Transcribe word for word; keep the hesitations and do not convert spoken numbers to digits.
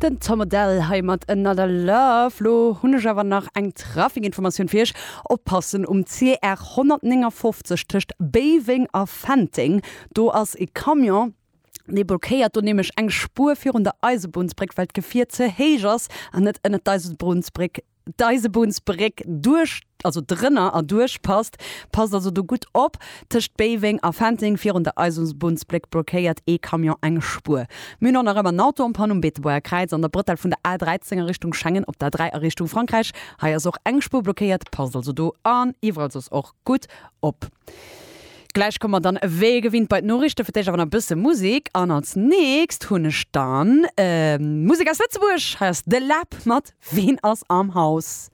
Den Tom Odell hei mat Another Love. Lo hunn ech awer nach eng Trafikinformatioun fir iech. Oppassen um C R honnertnéngafofzeg tëscht Béiweng a Fenteng. Do ass e Camion. Dee blockéiert do nämlech eng Spuer virun der Eisebunnsbréck, well d'Gefier ze héich ass an net ënnert d'Eisebunnsbréck d'Eisebunnsbréck duerch, also drënner erduerch passt. Passt also do gutt op, tëscht Béiweng a Fenteng virun der Eisebunnsbréck blockéiert ee Camion eng Spuer. Mir hunn och nach ëmmer en Auto en panne um Beetebuerger Kräiz an der Brëtell vun der A dräizéng a Richtung Schengen op der dräi a Richtung Frankräich. Hei ass och eng Spuer blockéiert, passt also do an iwwerall soss och gutt op. Gläich komme mer dann wéi gewinnt bei d'Noriichte, fir d'éischt awer nach e bësse Musek an als nächst hunn ech dann Musek aus Lëtzebuerg. Hei ass De Läb mat Ween ass am Haus?